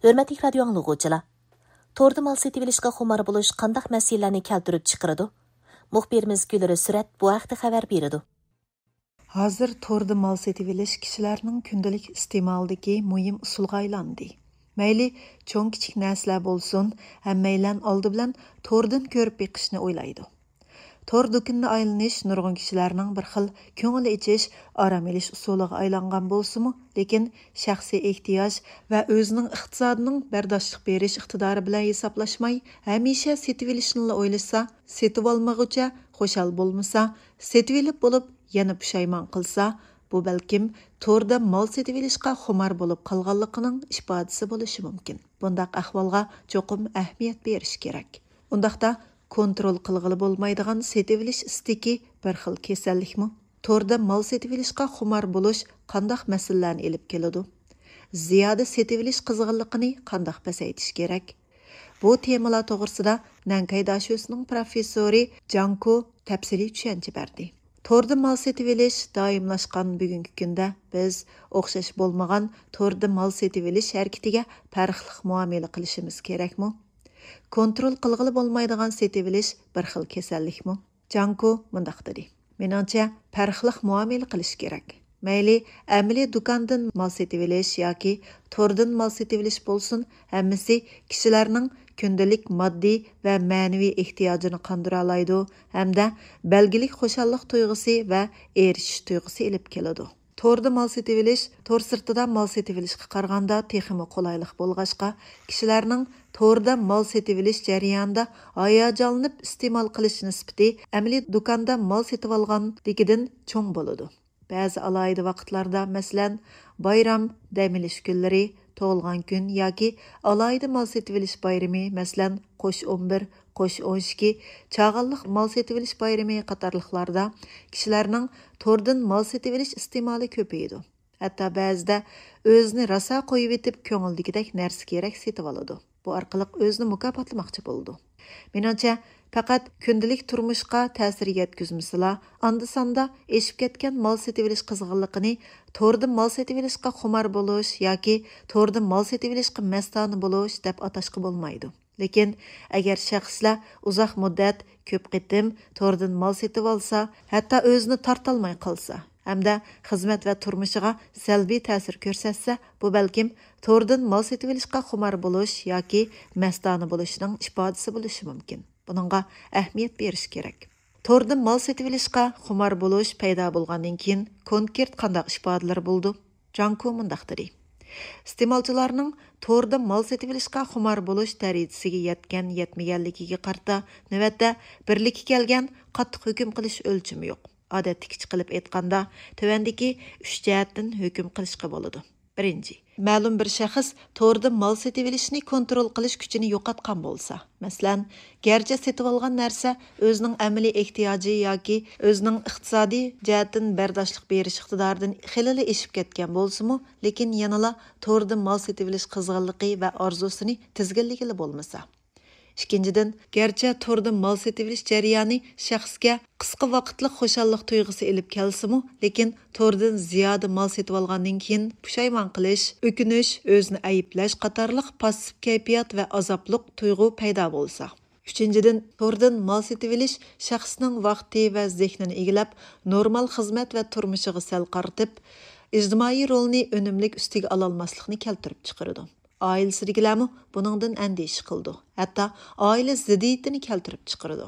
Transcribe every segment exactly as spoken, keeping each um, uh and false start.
ھۆرمەتلىك رادىيو ئاڭلىغۇچىلار! توردا مال سېتىۋېلىشقا خۇمار بولۇش قانداق مەسىلىلەرنى كەلتۈرۈپ چىقىرىدۇ؟ مۇخبىرىمىز گۈلرى سۈرەت بۇ ھەقتە خەۋەر بېرىدۇ. ھازىر توردا مال سېتىۋېلىش كىشىلەرنىڭ كۈندىلىك ئىستېمالىدىكى مۇھىم ئۇسۇلغا ئايلاندى. مەيلى چوڭ-كىچىك نەرسىلەر بولسۇن، ھەممەيلەن ئالدى بىلەن توردىن كۆرۈپ بېقىشنى ئويلايدۇ. تور دۇكىنىدا ئايلىنىش نۇرغۇن كىشىلەرنىڭ بىر خىل كۆڭۈل ئېچىش، ئارام ئېلىش ئۇسۇلىغا ئايلانغان بولسىمۇ، لېكىن شەخسىي ئېھتىياج ۋە ئۆزىنىڭ ئىقتىسادىنىڭ بەرداشلىق بېرىش ئىقتىدارى بىلەن ھېسابلاشماي، ھەمىشە سېتىۋېلىشنىلا ئويلىسا، سېتىۋالمىغۇچە خۇشال بولمىسا، سېتىۋېلىپ بولۇپ يەنە پۇشايمان قىلسا، بۇ بەلكىم توردا مال سېتىۋېلىشقا خۇمار بولۇپ قالغانلىقىنىڭ ئىپادىسى بولۇشى مۇمكىن. بۇنداق ئەھۋالغا چوقۇم ئەھمىيەت بېرىش كېرەك. ئۇنداقتا كونترول قىلغىلى بولمايدىغان سېتىۋېلىش ئىستىكى بىر خىل كېسەللىكمۇ؟ توردا مال سېتىۋېلىشقا خۇمار بولۇش قانداق مەسىلىلەرنى ئېلىپ كېلىدۇ؟ زىيادە سېتىۋېلىش قىزغىنلىقىنى قانداق پەسەيتىش كېرەك؟ بۇ تېمىلار توغرىسىدا نەنكاي داشۆسىنىڭ پروفېسسورى جاڭ كو تەپسىلىي چۈشەنچە بەردى. توردا مال سېتىۋېلىش دائىملاشقان بۈگۈنكى كۈندە بىز ئوخشاش بولمىغان توردا مال سېتىۋېلىش ھەرىكىتىگە پەرقلىق مۇئامىلە قىلىشىمىز كېرەكمۇ؟ كونترول قىلغىلى بولمايدىغان سېتىۋېلىش بىر خىل كېسەللىكمۇ؟ جاڭ كو مۇنداق دېدى، مېنىڭچە، پەرقلىق مۇئامىلە قىلىش كېرەك. مەيلى ئەمەلىي دۇكاندىن مال سېتىۋېلىش ياكى توردىن مال سېتىۋېلىش بولسۇن، ھەممىسى كىشىلەرنىڭ كۈندىلىك ماددىي ۋە مەنىۋى ئېھتىياجىنى قاندۇرالايدۇ ھەمدە بەلگىلىك خۇشاللىق تۇيغۇسى ۋە ئېرىشىش تۇيغۇسى ئېلىپ كېلىدۇ. توردا مال سېتىۋېلىش تور سىرتىدا مال سېتىۋېلىشقا قارىغاندا تېخىمۇ قولايلىق بولغاچقا، كىشىلەرنىڭ توردا مال سېتىۋېلىش جەريانىدا ھاياجانلىنىپ ئىستېمال قىلىش نىسبىتى ئەمەلىي دۇكاندا مال سېتىۋالغاندىكىدىن چوڭ بولىدۇ. بەزى ئالاھىدە ۋاقىتلاردا، مەسىلەن، بايرام، دەم ئېلىش كۈنلىرى، تۇغۇلغان كۈن ياكى ئالاھىدە مال سېتىۋېلىش بايرىمى، مەسىلەن، قوش ئون بىر، قوش ئون ئىككى، چاغانلىق مال سېتىۋېلىش بايرىمى قاتارلىقلاردا كىشىلەرنىڭ توردىن مال سېتىۋېلىش ئىستېمالى كۆپىيىدۇ. ھەتتا بەزىدە ئۆزىنى راسا قويۇۋېتىپ، كۆڭۈلدىكىدەك نەرسە-كېرەك سېتىۋالىدۇ. بۇ ئارقىلىق ئۆزىنى مۇكاپاتلىماقچى بولىدۇ. مېنىڭچە، پەقەت كۈندىلىك تۇرمۇشقا تەسىر يەتكۈزمىسىلا، ئاندا-ساندا ئېشىپ كەتكەن مال سېتىۋېلىش قىزغىنلىقىنى توردا مال سېتىۋېلىشقا خۇمار بولۇش ياكى توردا مال سېتىۋېلىشقا مەستانە بولۇش دەپ ئاتاشقا بولمايدۇ. لېكىن ئەگەر شەخسلەر ئۇزاق مۇددەت، كۆپ قېتىم توردىن مال سېتىۋالسا، ھەتتا ئۆزىنى تارتالماي قالسا ھەمدە خىزمەت ۋە تۇرمۇشىغا سەلبىي تەسىر كۆرسەتسە، بۇ بەلكىم توردىن مال سېتىۋېلىشقا خۇمار بولۇش ياكى مەستانە بولۇشنىڭ ئىپادىسى بولۇشى مۇمكىن. بۇنىڭغا ئەھمىيەت بېرىش كېرەك. توردا مال سېتىۋېلىشقا خۇمار بولۇش پەيدا بولغاندىن كېيىن، كونكرېت قانداق ئىپادىلىرى بولىدۇ؟ جاڭ كو مۇنداق دېدى، ئىستېمالچىلارنىڭ توردا مال سېتىۋېلىشقا خۇمار بولۇش دەرىجىسىگە يەتكەن-يەتمىگەنلىكىگە قارىتا، نۆۋەتتە بىرلىككە كەلگەن قاتتىق ھۆكۈم قىلىش ئۆلچىمى يوق. ئادەتتىكىچە قىلىپ ئېيتقاندا، تۆۋەندىكى ئۈچ جەھەتتىن ھۆكۈم قىلىشقا بولىدۇ. بىرىنچى، مەلۇم بىر شەخس توردا مال سېتىۋېلىشنى كونترول قىلىش كۈچىنى يوقاتقان بولسا، مەسىلەن، گەرچە سېتىۋالغان نەرسە ئۆزىنىڭ ئەمەلىي ئېھتىياجى ياكى ئۆزىنىڭ ئىقتىسادىي جەھەتتىن بەرداشلىق بېرىش ئىقتىدارىدىن خېلىلا ئېشىپ كەتكەن بولسىمۇ، لېكىن يەنىلا توردا مال سېتىۋېلىش قىزغىنلىقى ۋە ئارزۇسىنى تىزگىنلىگىلى بولمىسا. ئىككىنچىدىن، گەرچە توردا مال سېتىۋېلىش جەريانى شەخسكە قىسقا ۋاقىتلىق خۇشاللىق تۇيغۇسى ئېلىپ كەلسىمۇ، لېكىن توردىن زىيادە مال سېتىۋالغاندىن كېيىن پۇشايمان قىلىش، ئۆكۈنۈش، ئۆزىنى ئەيىبلەش قاتارلىق پاسسىپ كەيپىيات ۋە ئازابلىق تۇيغۇ پەيدا بولسا. ئۈچىنچىدىن، توردىن مال سېتىۋېلىش شەخسنىڭ ۋاقتى ۋە زېھنىنى ئىگىلەپ، نورمال خىزمەت ۋە تۇرمۇشىغا سەل قارىتىپ، ئىجتىمائىي رولنى ئۈنۈملۈك ئۈستىگە ئالالماسلىقنى كەلتۈرۈپ چىقىرىدۇ. ئائىلىسىدىكىلەرمۇ بۇنىڭدىن ئەندىشە قىلىدۇ، ھەتتا ئائىلە زىددىيىتىنى كەلتۈرۈپ چىقىرىدۇ.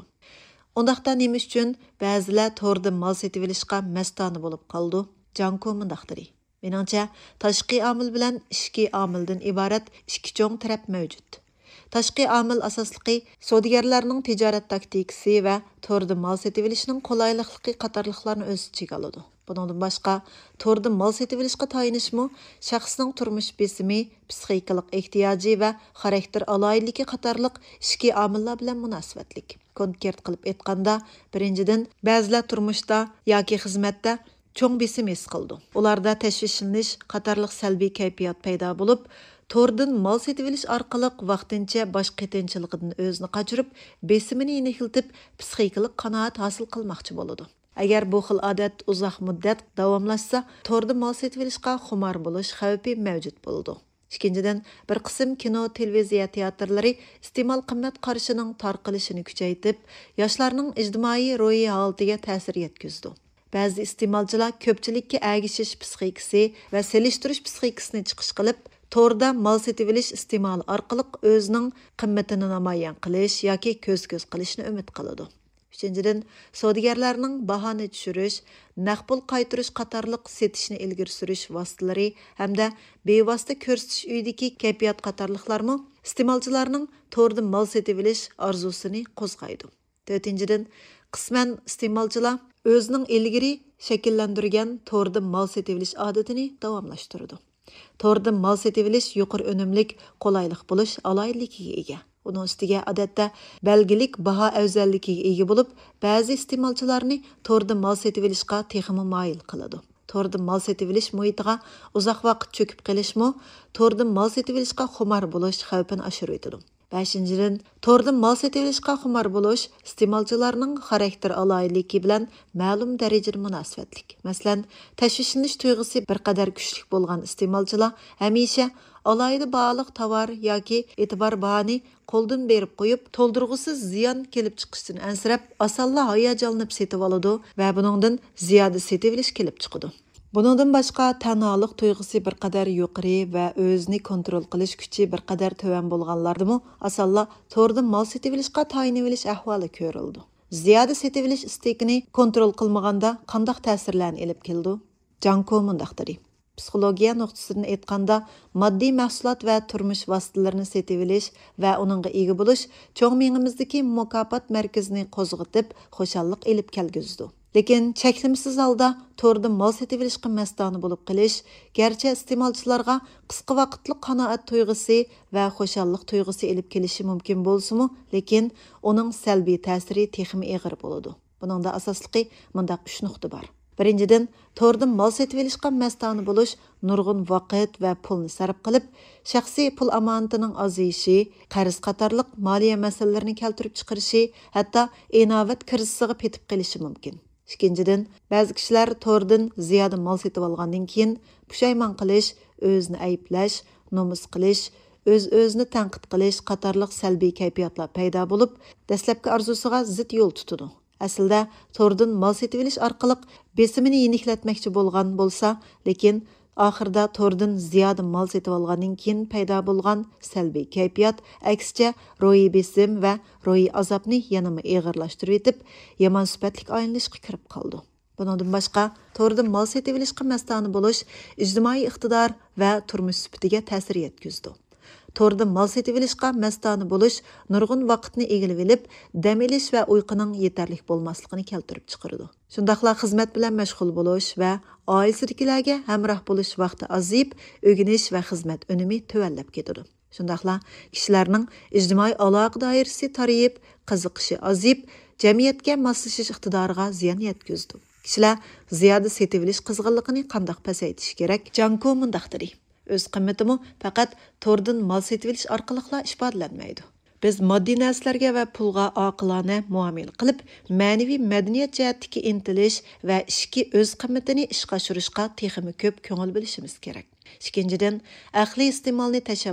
ئۇنداقتا نېمە ئۈچۈن بەزىلەر توردا مال سېتىۋېلىشقا مەستانە بولۇپ قالىدۇ؟ جاڭ كو مۇنداق دېدى، مېنىڭچە، تاشقى ئامىل بىلەن ئىچكى ئامىلدىن ئىبارەت ئىككى چوڭ تەرەپ مەۋجۇت. تاشقى ئامىل ئاساسلىقى سودىگەرلەرنىڭ تىجارەت تاكتىكىسى ۋە توردا مال سېتىۋېلىشنىڭ قولايلىقلىقى قاتارلىقلارنى ئۆز ئىچىگە ئالىدۇ. بۇنىڭدىن باشقا، توردا مال سېتىۋېلىشقا تايىنىشمۇ شەخسنىڭ تۇرمۇش بېسىمى، پىسخىكىلىق ئېھتىياجى ۋە خاراكتېر ئالاھىدىلىكى قاتارلىق ئىچكى ئامىللار بىلەن مۇناسىۋەتلىك. كونكرېت قىلىپ ئېيتقاندا، بىرىنچىدىن، بەزىلەر تۇرمۇشتا ياكى خىزمەتتە چوڭ بېسىم ھېس قىلىدۇ. ئۇلاردا تەشۋىشلىنىش قاتارلىق سەلبىي كەيپىيات پەيدا بولۇپ، توردىن مال سېتىۋېلىش ئارقىلىق ۋاقتىنچە باش قېتىنچىلىقىدىن ئۆزىنى قاچۇرۇپ، بېسىمىنى يېنىكلىتىپ، پىسخىكىلىق قانائەت ھاسىل قىلماقچى بولىدۇ. ئەگەر بۇ خىل ئادەت ئۇزاق مۇددەت داۋاملاشسا، توردا مال سېتىۋېلىشقا خۇمار بولۇش خەۋپى مەۋجۇت بولىدۇ. ئىككىنچىدىن، بىر قىسىم كىنو، تېلېۋىزىيە تىياتىرلىرى ئىستېمال قىممەت قارىشىنىڭ تارقىلىشىنى كۈچەيتىپ، ياشلارنىڭ ئىجتىمائىي روھىي ھالىتىگە تەسىر يەتكۈزىدۇ. بەزى ئىستېمالچىلار كۆپچىلىككە ئەگىشىش پىسخىكىسى ۋە سېلىشتۇرۇش پىسخىكىسىنى چىقىش قىلىپ، توردا مال سېتىۋېلىش ئىستېمالى ئارقىلىق ئۆزىنىڭ قىممىتىنى نامايان قىلىش ياكى كۆز-كۆز قىلىشنى ئۈمىد قىلىدۇ. ئۈچىنچىدىن، سودىگەرلەرنىڭ باھانى چۈشۈرۈش، نەق پۇل قايتۇرۇش قاتارلىق سېتىشنى ئىلگىرى سۈرۈش ۋاسىتىلىرى ھەمدە بىۋاسىتە كۆرسىتىش ئۆيىدىكى كەيپىيات قاتارلىقلارمۇ ئىستېمالچىلارنىڭ توردا مال سېتىۋېلىش ئارزۇسىنى قوزغايدۇ. تۆتىنچىدىن، قىسمەن ئىستېمالچىلار ئۆزىنىڭ ئىلگىرى شەكىللەندۈرگەن توردا مال سېتىۋېلىش ئادىتىنى داۋاملاشتۇرىدۇ. توردا مال سېتىۋېلىش يۇقىرى ئۈنۈملۈك، قولايلىق بولۇش ئالاھىدىلىكىگە ئىگە. ئۇنىڭ ئۈستىگە ئادەتتە بەلگىلىك باھا ئەۋزەللىكىگە ئىگە بولۇپ، بەزى ئىستېمالچىلارنى توردا مال سېتىۋېلىشقا تېخىمۇ مايىل قىلىدۇ. توردا مال سېتىۋېلىش مۇھىتىغا ئۇزاق ۋاقىت چۆكۈپ قېلىشمۇ توردا مال سېتىۋېلىشقا خۇمار بولۇش خەۋپىنى ئاشۇرۇۋېتىدۇ. بەشىنچىدىن، توردا مال سېتىۋېلىشقا خۇمار بولۇش ئىستېمالچىلارنىڭ خاراكتېر ئالاھىدىلىكى بىلەن مەلۇم دەرىجىدە مۇناسىۋەتلىك. مەسىلەن، تەشۋىشلىنىش تۇيغۇسى بىر قەدەر كۈچلۈك بولغان ئىستېمالچىلار ھەمىشە ئالاھىدە باھالىق تاۋار ياكى ئېتىبار باھانى قولدىن بېرىپ قويۇپ، تولدۇرغۇسىز زىيان كېلىپ چىقىشتىن ئەنسىرەپ، ئاسانلا ھاياجانلىنىپ سېتىۋالىدۇ ۋە بۇنىڭدىن زىيادە سېتىۋېلىش كېلىپ چىقىدۇ. بۇنىڭدىن باشقا، تەنھالىق تۇيغۇسى بىر قەدەر يۇقىرى ۋە ئۆزىنى كونترول قىلىش كۈچى بىر قەدەر تۆۋەن بولغانلاردىمۇ ئاسانلا توردا مال سېتىۋېلىشقا تايىنىۋېلىش ئەھۋالى كۆرۈلىدۇ. زىيادە سېتىۋېلىش ئىستىكىنى كونترول قىلمىغاندا قانداق تەسىرلەرنى ئېلىپ كېلىدۇ؟ جاڭكو مۇنداق دېدى: پسىخولوگىيە نۇقتىسىدىن ئېيتقاندا، ماددىي مەھسۇلات ۋە تۇرمۇش ۋاسىتىلىرىنى سېتىۋېلىش ۋە ئۇنىڭغا ئىگە بولۇش چوڭ مېڭىمىزدىكى مۇكاپات مەركىزىنى قوزغىتىپ، خۇشاللىق ئېلىپ كەلگۈزىدۇ. لېكىن چەكلىمىسىز ھالدا توردا مال سېتىۋېلىشقا مەستانە بولۇپ قېلىش، گەرچە ئىستېمالچىلارغا قىسقا ۋاقىتلىق قانائەت تۇيغۇسى ۋە خۇشاللىق تۇيغۇسى ئېلىپ كېلىشى مۇمكىن بولسىمۇ، لېكىن ئۇنىڭ سەلبىي تەسىرى تېخىمۇ ئېغىر بولىدۇ. بۇنىڭدا ئاساسلىقى مۇنداق ئۈچ نۇقتا بار. بىرىنچىدىن، توردا مال سېتىۋېلىشقا مەستانە بولۇش نۇرغۇن ۋاقىت ۋە پۇلنى سەرپ قىلىپ، شەخسىي پۇل ئامانىتىنىڭ ئازىيىشى، قەرز قاتارلىق مالىيە مەسىلىلىرىنى كەلتۈرۈپ چىقىرىشى، ھەتتا ئىناۋەت كىرىزىسىغا پېتىپ قېلىشى مۇمكىن. ئىككىنچىدىن، بەزى كىشىلەر توردىن زىيادە مال سېتىۋالغاندىن كېيىن پۇشايمان قىلىش، ئۆزىنى ئەيىبلەش، نومۇس قىلىش، ئۆز-ئۆزىنى تەنقىد قىلىش قاتارلىق سەلبىي كەيپىياتلار پەيدا بولۇپ، دەسلەپكى ئارزۇسىغا زىت يول تۇتىدۇ. ئەسلىدە توردىن مال سېتىۋېلىش ئارقىلىق بېسىمىنى يېنىكلەتمەكچى بولغان بولسا، لېكىن ئاخىرىدا توردىن زىيادە مال سېتىۋالغاندىن كېيىن پەيدا بولغان سەلبىي كەيپىيات، ئەكسىچە، روھىي بېسىم ۋە روھىي ئازابنى يەنىمۇ ئېغىرلاشتۇرۇۋېتىپ، يامان سۈپەتلىك ئايلىنىشقا كىرىپ قالىدۇ. بۇنىڭدىن باشقا، توردىن مال سېتىۋېلىشقا مەستانە بولۇش ئىجتىمائىي ئىقتىدار ۋە تۇرمۇش سۈپىتىگە تەسىر يەتكۈزىدۇ. توردا مال سېتىۋېلىشقا مەستانە بولۇش نۇرغۇن ۋاقىتنى ئىگىلىۋېلىپ، دەم ئېلىش ۋە ئۇيقۇنىڭ يېتەرلىك بولماسلىقىنى كەلتۈرۈپ چىقىرىدۇ. شۇنداقلا خىزمەت بىلەن مەشغۇل بولۇش ۋە ئائىلىسىدىكىلەرگە ھەمراھ بولۇش ۋاقتى ئازىيىپ، ئۆگىنىش ۋە خىزمەت ئۈنۈمى تۆۋەنلەپ كېتىدۇ. شۇنداقلا كىشىلەرنىڭ ئىجتىمائىي ئالاقە دائىرىسى تارىيىپ، قىزىقىشى ئازىيىپ، جەمئىيەتكە ماسلىشىش ئىقتىدارىغا زىيان يەتكۈزىدۇ. كىشىلەر زىيادە سېتىۋېلىش قىزغىنلىقىنى قانداق پەسەيتىش كېرەك؟ جاڭكو مۇنداق دېدى: ئۆز قىممىتىمۇ پەقەت توردىن مال سېتىۋېلىش ئارقىلىقلا ئىپادىلەنمەيدۇ. بىز ماددىي نەرسىلەرگە ۋە پۇلغا ئاقىلانە مۇئامىلە قىلىپ، مەنىۋى مەدەنىيەت جەھەتتىكى ئىنتىلىش ۋە ئىچكى ئۆز قىممىتىنى ئىشقا ئاشۇرۇشقا تېخىمۇ كۆپ كۆڭۈل بۆلۈشىمىز كېرەك. ئىككىنچىدىن، ئەقلىي ئىستېمالنى تەشەببۇس